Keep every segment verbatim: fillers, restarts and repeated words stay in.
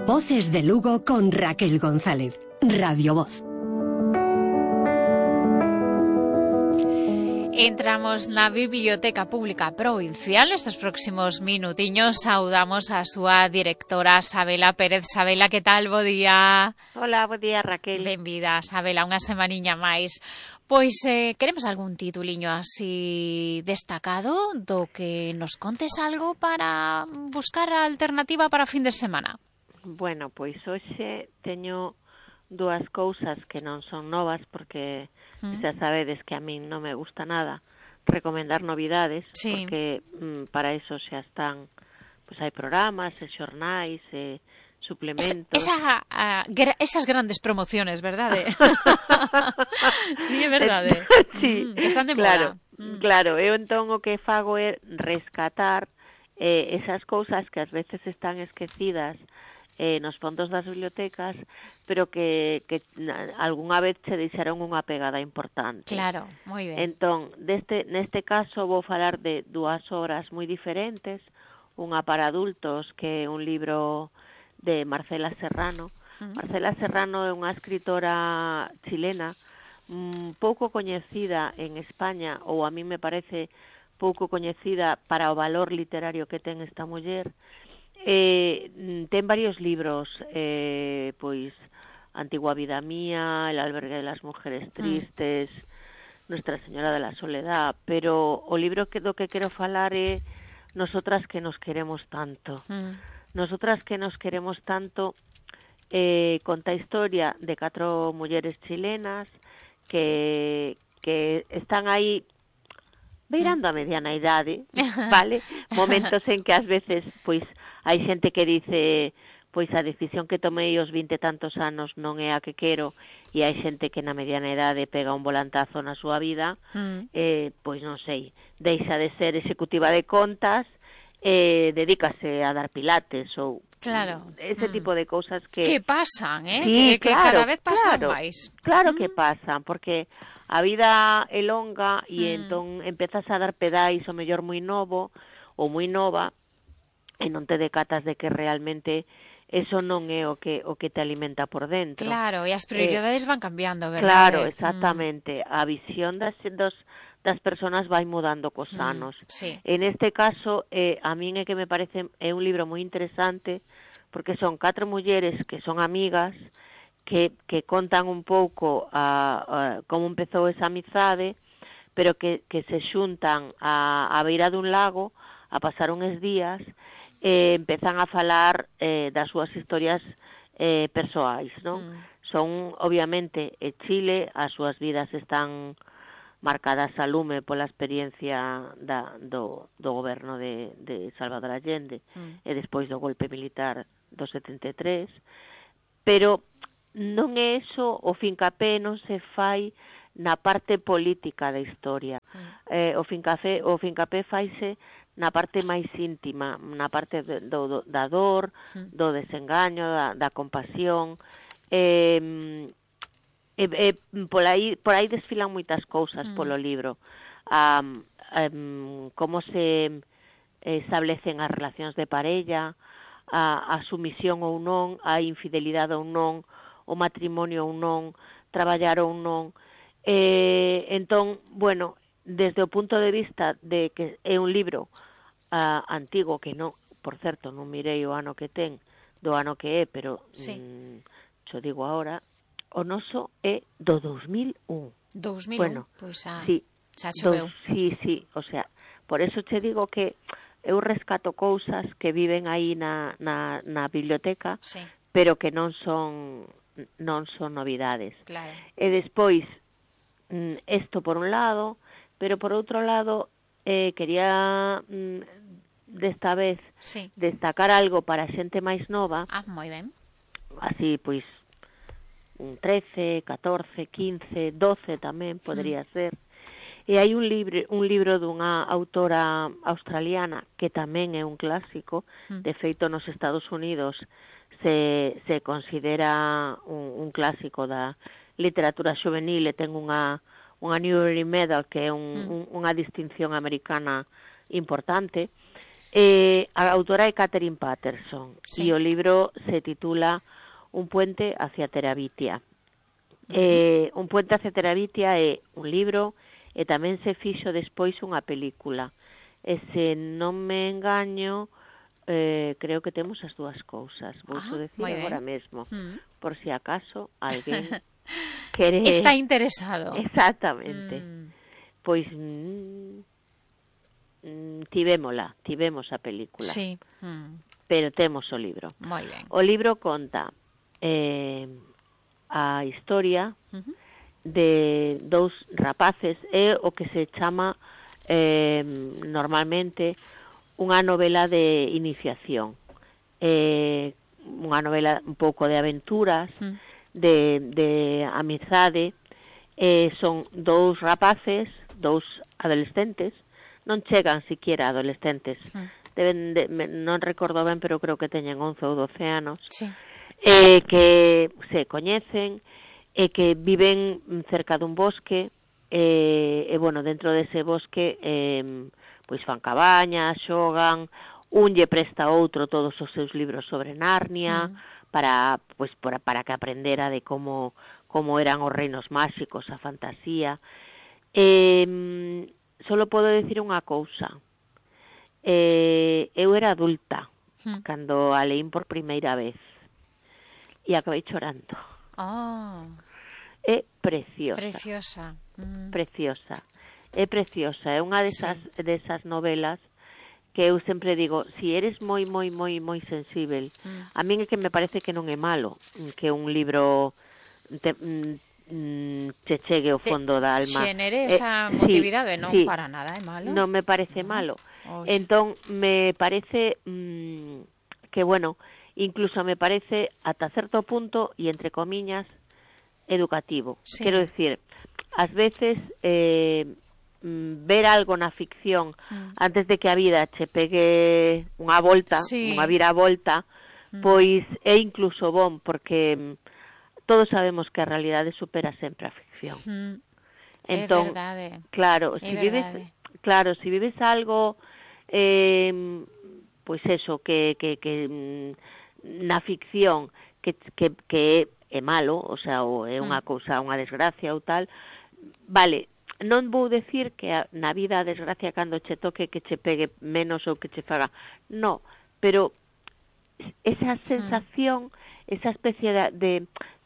Voces de Lugo con Raquel González. Radio Voz. Entramos na Biblioteca Pública Provincial. Nestes próximos minutiños saudamos a súa directora, Sabela Pérez. Sabela, que tal? Bo día. Hola, bo día, Raquel. Benvida, Sabela, unha semaniña máis. Pois eh, queremos algún tituliño así destacado do que nos contes algo para buscar a alternativa para fin de semana. Bueno, pois hoxe teño dúas cousas que non son novas, porque mm. xa sabedes que a min non me gusta nada recomendar novidades, sí. porque mm, para eso xa están, pois hai programas, e xornais, e suplementos. Es, esa, a, gra, esas grandes promociones, verdade? Sí, é verdade. Sí, mm, que están de claro, moda. Mm. Claro, eu entón o que fago é rescatar eh, esas cousas que ás veces están esquecidas eh, nos fondos das bibliotecas, pero que, que algunha vez se deixaron unha pegada importante. Claro, moi ben. Entón, deste, neste caso vou falar de dúas obras moi diferentes, unha para adultos, que é un libro de Marcela Serrano. Uh-huh. Marcela Serrano é unha escritora chilena un pouco coñecida en España, ou a mí me parece pouco coñecida para o valor literario que ten esta muller. Eh, ten varios libros, eh, pois Antigua vida mía, El albergue de las mujeres tristes, mm. Nuestra Señora de la Soledad, pero o libro que do que quero falar é Nosotras que nos queremos tanto. Mm. Nosotras que nos queremos tanto eh, conta a historia de catro mulleres chilenas que, que están aí beirando a mediana idade, vale? Momentos en que ás veces, pois, hai xente que dice, pois a decisión que tomei aos vinte e tantos anos non é a que quero, e hai xente que na mediana idade pega un volantazo na súa vida, mm. eh, pois non sei, deixa de ser executiva de contas, eh, dedícase a dar pilates ou claro. ese mm. tipo de cousas que... Que pasan, eh? Sí, que, claro, que cada vez pasan claro, máis. Claro mm. que pasan, porque a vida é longa e mm. entón empezas a dar pedais o mellor moi novo ou moi nova e non te decatas de que realmente eso non é o que o que te alimenta por dentro. Claro, e as prioridades eh, van cambiando, verdade? Claro, exactamente. Mm. A visión das, das, das persoas vai mudando cos anos. Mm, sí. En este caso, eh, a min é que me parece é un libro moi interesante, porque son catro mulleres que son amigas, que, que contan un pouco a, a como empezou esa amizade, pero que, que se xuntan a, a beira dun lago a pasar uns días, eh, empezan a falar eh, das súas historias eh, persoais, non? Mm. Son, obviamente, eh, Chile, as súas vidas están marcadas a lume pola experiencia da, do, do goberno de, de Salvador Allende mm. e despois do golpe militar do setenta e tres, pero non é eso, o fincapé non se fai na parte política da historia. Mm. Eh, o fincapé, o fincapé faise na parte máis íntima, na parte do, do, da dor, mm. do desengaño, da, da compasión. Eh, eh, eh, por aí por aí desfilan moitas cousas mm. polo libro. Um, um, como se establecen as relacións de parella, a, a sumisión ou non, a infidelidade ou non, o matrimonio ou non, traballar ou non. Eh, entón, bueno, desde o punto de vista de que é un libro uh, antigo, que non, por certo, non mirei o ano que ten, do ano que é, pero sí. mm, xo digo agora, o noso é do dos mil un. dos mil un, bueno, pois a... sí, xa choveu. Sí, sí, o sea, por eso che digo que eu rescato cousas que viven aí na, na, na biblioteca, sí. pero que non son non son novidades. Claro. E despois, isto por un lado, pero por outro lado, eh, quería mm, desta vez sí. destacar algo para xente máis nova. Ah, moi ben. Así, pois, trece, catorce, quince, doce tamén podría mm. ser. E hai un libro, un libro dunha autora australiana que tamén é un clásico, mm. de feito nos Estados Unidos se, se considera un, un clásico da literatura juvenil e ten unha, unha Newbery Medal, que é un, mm. un, unha distinción americana importante. Eh, a autora é Catherine Patterson, sí. e o libro se titula Un puente hacia Terabitia. Uh-huh. Eh, Un puente hacia Terabitia é un libro e tamén se fixo despois unha película. E se non me engaño, eh, creo que temos as dúas cousas. Vou ah, decir agora mesmo, uh-huh. por si acaso alguén quere... Está interesado. Exactamente. Mm. Pois... Mm, tivémola, tivemos a película, sí. mm. pero temos o libro. Moi ben. O libro conta eh, a historia uh-huh. de dous rapaces, é o que se chama eh, normalmente unha novela de iniciación, eh, unha novela un pouco de aventuras, uh-huh. de, de amizade, eh, son dous rapaces, dous adolescentes, non chegan siquiera adolescentes, sí. deben de, non recordo ben, pero creo que teñen once ou doce anos, sí. eh, que se coñecen e que viven cerca dun bosque, eh, e, bueno, dentro dese bosque, eh, pois fan cabañas, xogan, un lle presta a outro todos os seus libros sobre Narnia, sí. para, pois, para, para que aprendera de como, como eran os reinos máxicos, a fantasía. Eh, Solo podo decir unha cousa. Eh, eu era adulta hmm. cando a leín por primeira vez e acabei chorando. Oh. É preciosa. Preciosa. Mm. Preciosa. É preciosa. É unha desas, sí. desas novelas que eu sempre digo, si eres moi, moi, moi, moi sensível, mm. a min é que me parece que non é malo que un libro... Te, te chegue ao fondo da alma. Xenere esa eh, motividade, sí, non sí. para nada é malo. Non me parece no. malo. Oh, entón, me parece mmm, que, bueno, incluso me parece ata certo punto, e entre comiñas, educativo. Sí. Quero decir, ás veces eh, ver algo na ficción mm. antes de que a vida che pegue unha volta, sí. unha viravolta, mm. pois é incluso bon, porque todos sabemos que a realidade supera sempre a ficción. Mm, entón, é verdade. Claro, é si verdade. vives, claro, si vives algo, eh, pois eso, que, que, que na ficción que, que, que é malo, o sea, ou é unha mm. cousa, unha desgracia ou tal, vale, non vou decir que a, na vida a desgracia cando che toque que che pegue menos ou que che faga, no, pero esa sensación, mm. esa especie de, de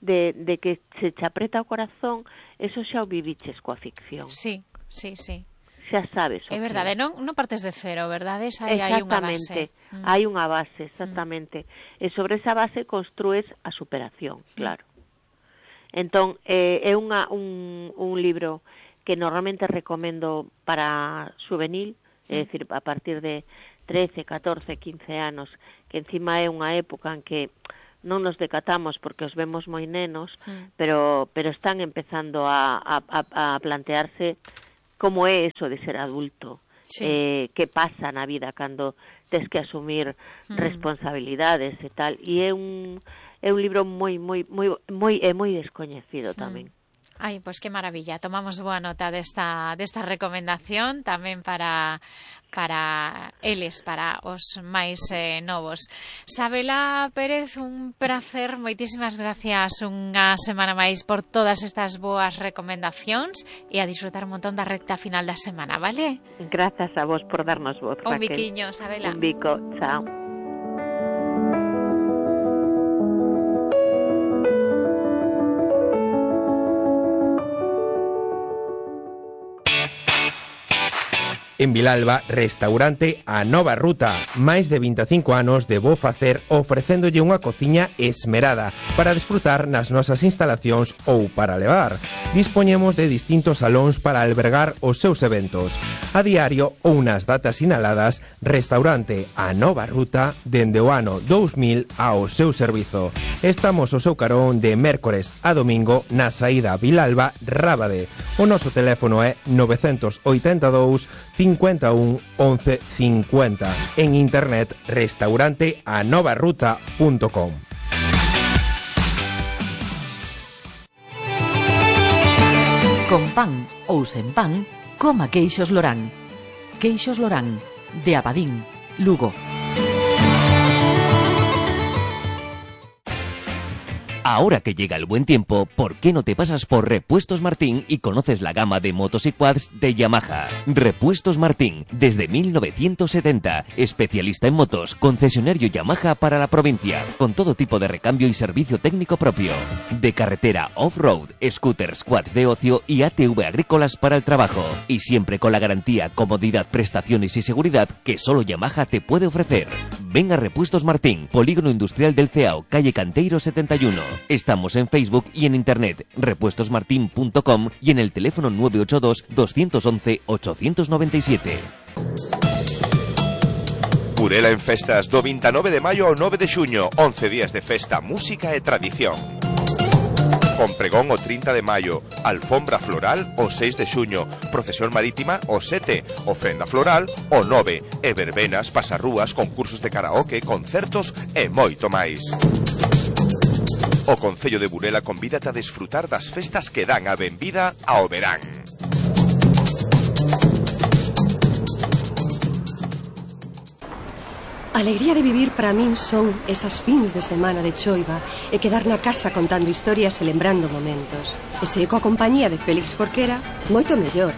De, de que se te apreta o corazón, eso xa o viviches coa ficción. Sí, sí, sí. Xa sabes. É verdade, non, non partes de cero, verdade? Esa hai, hai unha base. Mm. Hai unha base, exactamente. Mm. E sobre esa base construes a superación, claro. Mm. Entón, eh, é unha, un, un libro que normalmente recomendo para juvenil, mm. é dicir, a partir de trece, catorce, quince anos, que encima é unha época en que non nos decatamos porque os vemos moi nenos, mm. pero pero están empezando a, a, a plantearse como é eso de ser adulto, sí. eh, que pasa na vida cando tes que asumir mm. responsabilidades e tal, e é un é un libro moi moi moi moi é moi descoñecido tamén. Mm. Ai, pois que maravilla. Tomamos boa nota desta desta recomendación tamén para para eles, para os máis eh, novos. Sabela Pérez, un placer, moitísimas gracias unha semana máis por todas estas boas recomendacións e a disfrutar un montón da recta final da semana, vale? Grazas a vos por darnos voz, Un Raquel. biquiño, Sabela. Un bico, chao. En Vilalba, restaurante A Nova Ruta. Máis de vinte e cinco anos de bo facer ofrecéndolle unha cociña esmerada para desfrutar nas nosas instalacións ou para levar. Dispoñemos de distintos salóns para albergar os seus eventos. A diario ou nas datas sinaladas, restaurante A Nova Ruta dende o ano dous mil ao seu servizo. Estamos ao seu carón de mércores a domingo na saída Vilalba Rábade. O noso teléfono é nove oito dous, cincuenta e un, once cincuenta. En internet, restaurante a nova ruta punto com. Con pan ou sen pan, coma queixos Lorán. Queixos Lorán, de Abadín, Lugo. Ahora que llega el buen tiempo, ¿por qué no te pasas por Repuestos Martín y conoces la gama de motos y quads de Yamaha? Repuestos Martín, desde mil novecientos setenta, especialista en motos, concesionario Yamaha para la provincia, con todo tipo de recambio y servicio técnico propio. De carretera off-road, scooters, quads de ocio y A T V agrícolas para el trabajo. Y siempre con la garantía, comodidad, prestaciones y seguridad que solo Yamaha te puede ofrecer. Ven a Repuestos Martín, Polígono Industrial del Ceao, calle Canteiro setenta y uno. Estamos en Facebook y en internet, repuestos martin punto com y en el teléfono nueve ocho dos, dos once, ocho nueve siete. Burela en festas do veintinueve de maio ao nove de xuño, once días de festa, música e tradición. Con pregón o trinta de maio, alfombra floral o seis de xuño, procesión marítima o sete, ofrenda floral o nove, e verbenas, pasarrúas, concursos de karaoke, concertos e moito máis. O Concello de Burela convídate a desfrutar das festas que dan a benvida ao verán. A alegría de vivir para min son esas fins de semana de choiva e quedar na casa contando historias e lembrando momentos. E se coa compañía de Félix Jorquera, moito mellor.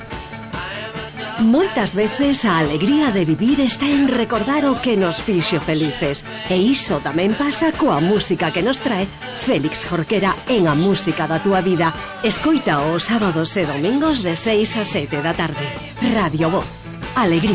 Moitas veces a alegría de vivir está en recordar o que nos fixo felices. E iso tamén pasa coa música que nos trae Félix Jorquera en A Música da Túa Vida. Escoita os sábados e domingos de seis a sete da tarde. Radio Voz. Alegría